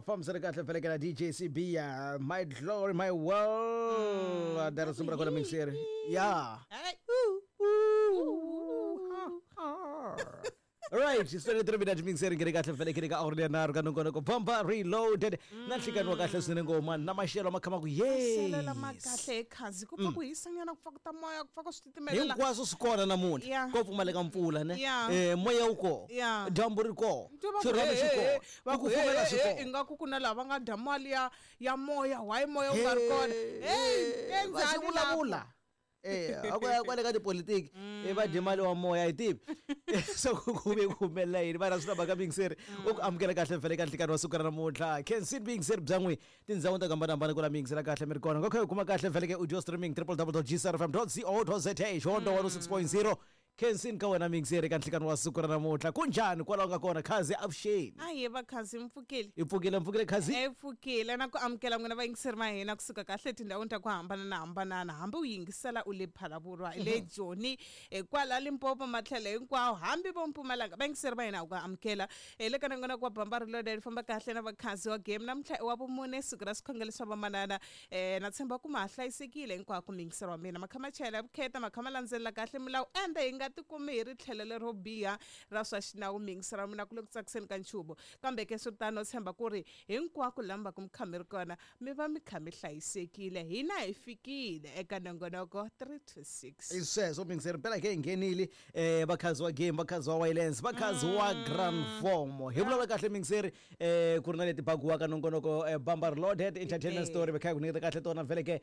Fambisana kahle felekela DJ CB, My Glory My World. Dara risimu ra kona mixeri. Ya. Hey. Right, it's 23 minutes mixeri ngene kahle felekele ka awuri nharhu ka nongonoko Bumper Reloaded. Na nhlikani wa kahle swinene ngoma na maxelo ma khama ku yes. Maxelo lama kahle ekhazi ku pfa ku hisanyana ku pfa ku ta moya ku pfa ku swi titimelela. Hinkwaswo swi kona namuntlha. Yeah. Ko pfumaleka mpfula ne. Yeah. Moya wu kona. Yeah. Dyambu ri kona. Twa va ku, Xirhami xi "Hey, hey, kona. va Ku ku, kufumela "Hey, swi hey, kona. ingaku ku na lava nga dya mali ya moya why moya wu nga ri kona hey va xi endzani vulavula kwale ka tipolitiki va dye mali wa moya hi tivi so ku ve ku humelela yini vana swi lava ka mingiseri u ku amukela kahle mfele ka nhlikani wa siku ra namuntlha kensin mingiseri bya n'wi tindhawu ta hambanahambana ku la mingisela kahle mi ri kona ngakho hi kuma kahle mfele ka audio streaming www.gcrfm.co.za xihondzo 106.0 kensin ka wena mingiseri ka nhlikani wa siku ra namuntlha kunjhani kwalaho nga kona khazi avuxeni aye vakhazi mpfukile i pfukile mpfukile khazi e pfukile na ku amukela n'wina vayingiseri va hina kusuka kahle etindhawini ta ku hambananahambanana hambi u yingisela u le Phalaborwa le Joni kwala Limpopo matlhelo hinkwawo hambi vo Mpumalanga vayingiseri va hina ku amukela hi le ka nongonoko wa Bamba Reloaded famba kahle na vakhazi wa game namuntlha i wa vumune siku ra swikhongelo swa vamanana na tshemba ku ma ha hlayisekile hinkwako muyingiseri wa mina makha ma chayela vukheta makha ma landzelela kahle milawu ende hi nga tikumi hi ri tlhelo lero biha ra swa xinawu muyingiseri wa mina ku le ku tsakiseni ka nchumu kambe ke swiritano tshemba ku ri hinkwako laha mi va ku mi kha mi ri kona mi va mi kha mi hlayisekile hina hi fikile eka nongonoko 3 to 6 I sweswo mingiseri mpela ke hi nghenile vakhazi wa game vakhazi wa wireless vakhazi wa grand form hi vulavula kahle mingiseri ku ri na leti bagiwaka nongonoko Bamba Reloaded entertainment story va kha hi ku nyiketa kahle tona vhele ke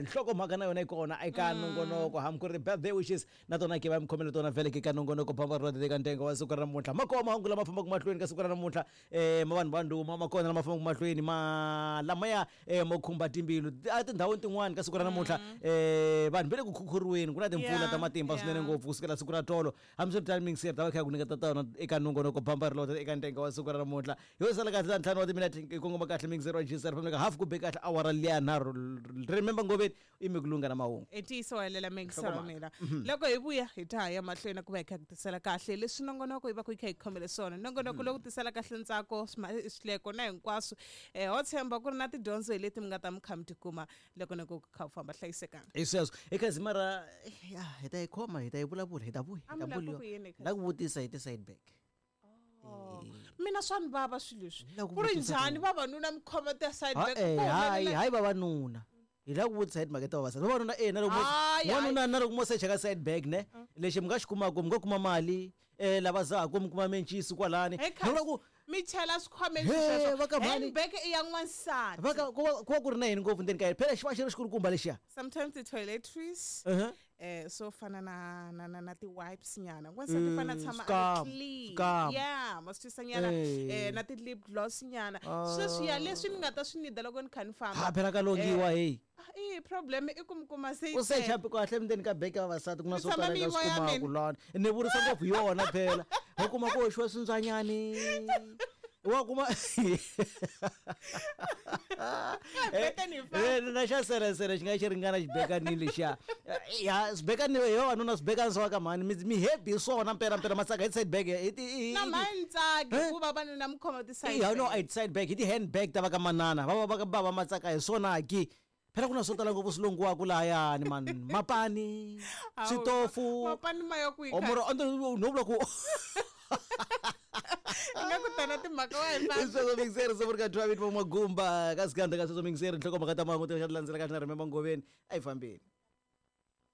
nhlokomhaka na yona yi kona eka nongonoko hambi ku ri birthday wishes na tona ke va mi khomele tona vhele ke ka nongonoko Bamba Reloaded eka ntengo wa siku ra namuntlha ma kona mahungu lama fambaka mahlweni ka siku ra namuntlha ma vanhu va ndhuma ma kona lama fambaka mahlweni ma lamaya mo khumba timbilu a tindhawini tin'wani ka siku ra namuntlha vanhu va le ku khukhuriweni ku na timpfula ta matimba swinene ngopfu kusukela siku ra tolo hambiswiritano mingiseri ta va kha hi ku nyiketa tona eka nongonoko Bamba Reloaded eka ntengo wa siku ra namuntlha hi sala kahle ta ntlhanu wa timinete hi kongoma kahle mingiseri wa GCR family half ku be kahle awara liya nharhu remember ngoveni i mi ku lunga na mahungu i ntiyiso wa helela muyingiseri wa mina loko hi vuya hi ta ya mahlweni ku va hi kha ku tisela kahle leswi nongonoko yi va ku yi kha yi khomele swona nongonoko lowu tisela kahle ntsako swihleko na hinkwaswo ho tshemba ku ri na tidyondzo hi leti mi nga ta mi kha mi tikuma loko noko ku kha u famba hlayisekanga hi sweswo ekhazi mara ya hi ta yi khoma hi ta yi vulavula hi ta vuya hi A ta mi lava vuliwa ku yini, Khazi? la ku vutisa hi ti-side back mina swa ni vava swilo leswi La ku ku ri vutisa njhani vavanuna mi khoma ti-side Ha- back eh, ku hayi humelela- hayi vavanuna hi lava ku vutisa hi timhaka ta vavasati vavanuna e na loko Hayi, hayi. wanuna na loko mo secha ka side bag ne lexi mi nga xi kumaka mi nga kuma mali lava zaku mi kuma mencisi kwalani Hey, ni vula Khazi, ku mi chela swikhwameni He, sweswo va ka mhani. handbag i ya n'wansati va ka ku va ku ri na yini ngopfu ndzeni ka yena phela xi va xi ri xikulukumba lexiya sometimes ti-toiletries Uh-huh. swo fana na na na, na ti-wipes nyana n'wansati fana tshama a swikamu, ri clean swikamu. yeah ma swi twisa nyana Eh. na ti-lip gloss nyana sweswiya leswi ni nga ta swi nida loko ni kha ni famba ha phela ka longiwa heyi Ah, i problem i ku mi kuma se yi u secha tele. kahle ndzeni ka beke ya vavasati ku na Mi swo tshama tala mi nga yi swi voya kumaka mina. lana ni vurisa ngopfu hi yona phela u kuma ku hoxiwa swintswanyani wa kuma Beka ni famba. Na xa seresere xi nga xi ringana xibekanini lexiya ya swibekanini hi vavanuna swibekani swa ka mhani mi happy hi swona mpela mpela matsaka hi side bag hi ti na mhani ntsaki Eh? ku vavanuna mi khoma ti-side ya no bag. i side bag hi ti-handbag ta va ka manana va va va ka bava matsaka hi swona ki phela ku na swo tala ngopfu swi longiwaka lahayani mani mapani Hawu, switofu mapani ma ya kwihi omoro no vula ku nga ku tana timhaka wa hi famba sweswo mixeri se ka 12 va magumba ka siganda ka sweswo mixeri nhlokomhaka ta mahungu ti landzela kahle na remember ngoveni a yi fambeni.